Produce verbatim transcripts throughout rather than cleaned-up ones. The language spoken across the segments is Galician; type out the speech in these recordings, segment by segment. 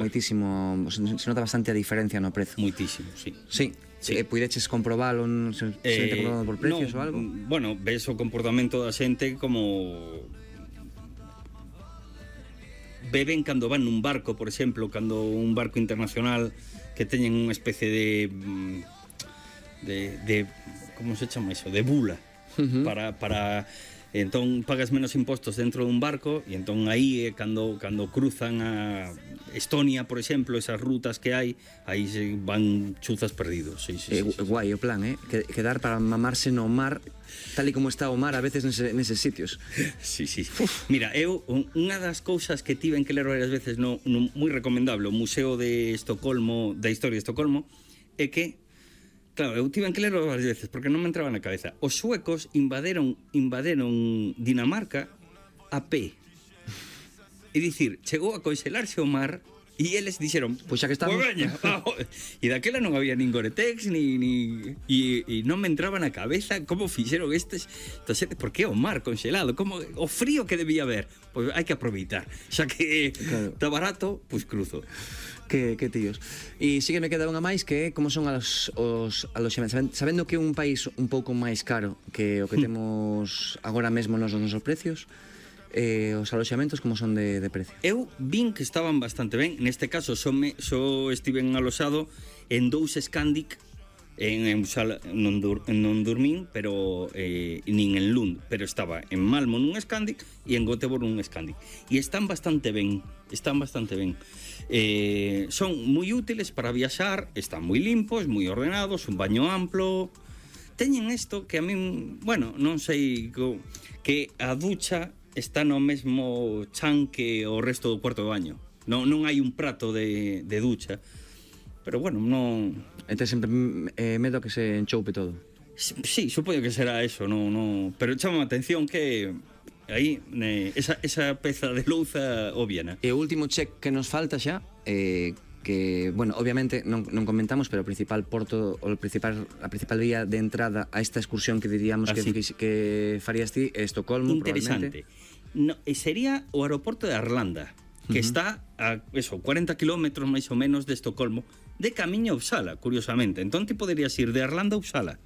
moitísimo, se nota bastante a diferencia no prezo. Moitísimo, sí. Sí, sí. Eh, puideches comprobalo, se, se eh, comprobado por precios no, ou algo? Bueno, ves o comportamento da xente como beben cando van nun barco, por exemplo, cando un barco internacional que teñen unha especie de de, de como se chama iso, de bula, uh-huh. para para entón pagas menos impostos dentro dun barco e entón aí é cando, cando cruzan a Estonia, por exemplo, esas rutas que hai, aí se van chuzas perdidos. Sí, sí, eh, sí, sí. Guai o plan, eh? Quedar para mamarse no mar tal e como está o mar a veces nese, neses sitios. Sí, sí. Uf. Mira, eu unha das cousas que tiven que ler varias veces no, no moi recomendable o Museo de Estocolmo, da Historia de Estocolmo, é que claro, eu tiven que lerlo varias veces porque non me entraba na cabeza. Os suecos invaderon invaderon Dinamarca a pé. É dicir, chegou a conxelarse o mar e eles dixeron, pois xa que estamos, pues veña, e daquela non había nin Gore-Tex ni, ni e, e non me entraba na cabeza como fixeron estes, entonces, por que o mar conxelado, como o frío que debía haber, pois pues hai que aproveitar, xa que claro. Está barato, pois pues cruzo. Que, que tíos. E sí que me queda unha máis que é como son os, os aloxamentos. Sabendo que é un país un pouco máis caro que o que mm. temos agora mesmo nos nosos precios, eh, os aloxamentos como son de, de precio? Eu vin que estaban bastante ben. Neste caso, só, me, só estiven aloxado en dous Scandic, en, en sala, non, dur, non dormín, pero eh, nin en Lund, pero estaba en Malmo nun Scandic e en Göteborg nun Scandic. E están bastante ben, están bastante ben. Eh, son moi útiles para viaxar, están moi limpos, moi ordenados, un baño amplo. Teñen isto que a min, bueno, non sei, que a ducha está no mesmo chan que o resto do cuarto de baño. Non, non hai un prato de, de ducha. Pero bueno, non... Ente sempre eh, medo que se enchoupe todo. Sí, supoño que será eso, no, no... Pero chama a atención que aí eh, esa, esa peza de louza obviana. E o último check que nos falta xa, eh, que, bueno, obviamente non, non comentamos, pero o principal porto, o principal, a principal vía de entrada a esta excursión que diríamos que, que farías ti é Estocolmo, interesante. No, sería o aeroporto de Arlanda, que uh-huh. está a eso, cuarenta kilómetros máis ou menos de Estocolmo, de camiño a Uppsala, curiosamente. Entón ti poderías ir de Arlanda a Uppsala,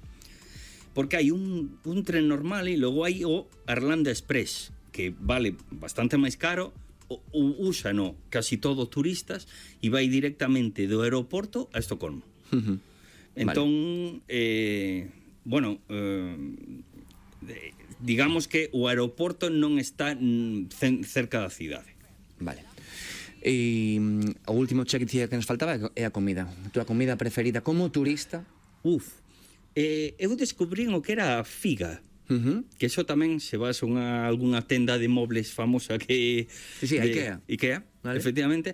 porque hai un, un tren normal e logo hai o Arlanda Express, que vale bastante máis caro, o, o úsano casi todo turistas e vai directamente do aeroporto a Estocolmo. Uh-huh. Entón, vale. eh, bueno, eh, digamos que o aeroporto non está cerca da cidade. Vale. E o último check que nos faltaba é a comida. A túa comida preferida como turista? Uf, eh, eu descubrín o que era a figa. Uh-huh. Que eso tamén se vas a unha, alguna tenda de mobles famosa que... Sí, sí, de, Ikea. Ikea, vale. Efectivamente.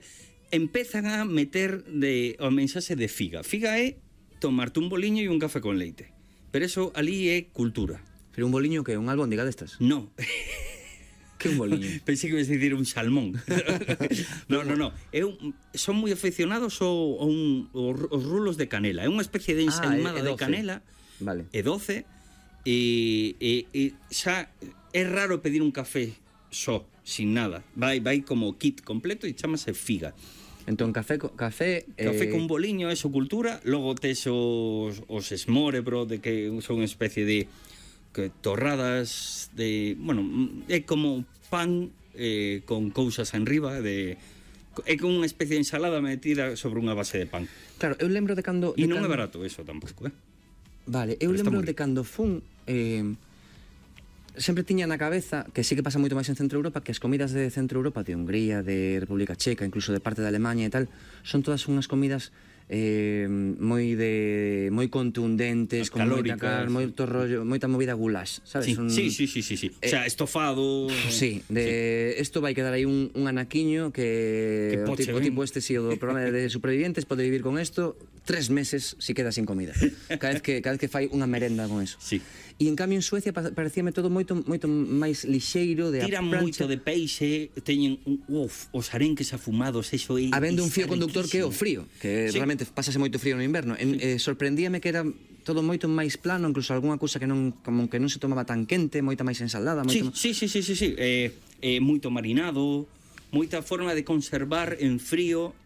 Empezan a meter de, o mensaxe de figa. Figa é tomarte un boliño e un café con leite. Pero eso ali é cultura. Pero un boliño que é un albóndiga destas? No. Que un boliño? Pensei que ibas a dicir un salmón. No, no, no. Eu, son moi aficionados ao, ao un, aos rulos de canela. É unha especie de ensaimada ah, de canela. Vale. É doce. E, e, e xa é raro pedir un café só, sin nada. Vai, vai como kit completo e chamase figa. Entón, café, café, café eh... con boliño, eso, cultura. Logo tes os, os smørrebrød, de que son unha especie de que torradas de... Bueno, é como pan eh, con cousas enriba de... É como unha especie de ensalada metida sobre unha base de pan. Claro, eu lembro de cando... E de non cando... é barato eso tampouco, eh? Vale, eu Pero lembro de cando fun... Eh, sempre tiña na cabeza, que sí que pasa moito máis en Centro Europa, que as comidas de Centro Europa, de Hungría, de República Checa, incluso de parte de Alemania e tal, son todas unhas comidas... Eh, moi de moi contundentes, con moita car, moito rollo, moita movida goulash, sabes? Sí, un, sí, sí, sí, sí, sí. Eh, o sea, estofado. Sí, de isto sí. Vai quedar aí un, un anaquiño que, que o, tipo, o tipo este si o do programa de supervivientes pode vivir con isto tres meses si queda sin comida. Cada vez que cada vez que fai unha merenda con eso. Sí. E en cambio en Suecia parecíame todo moito moito máis lixeiro de Tiran moito de peixe, teñen uf, os arenques afumados, eso aí. Habendo un fío conductor que é o frío, que sí. Realmente pásase moito frío no inverno. En, sí. eh, sorprendíame que era todo moito máis plano, incluso algunha cousa que non como que non se tomaba tan quente, moita máis ensalada, moito sí, sí, sí, sí, sí, sí. Eh, eh, moito marinado, moita forma de conservar en frío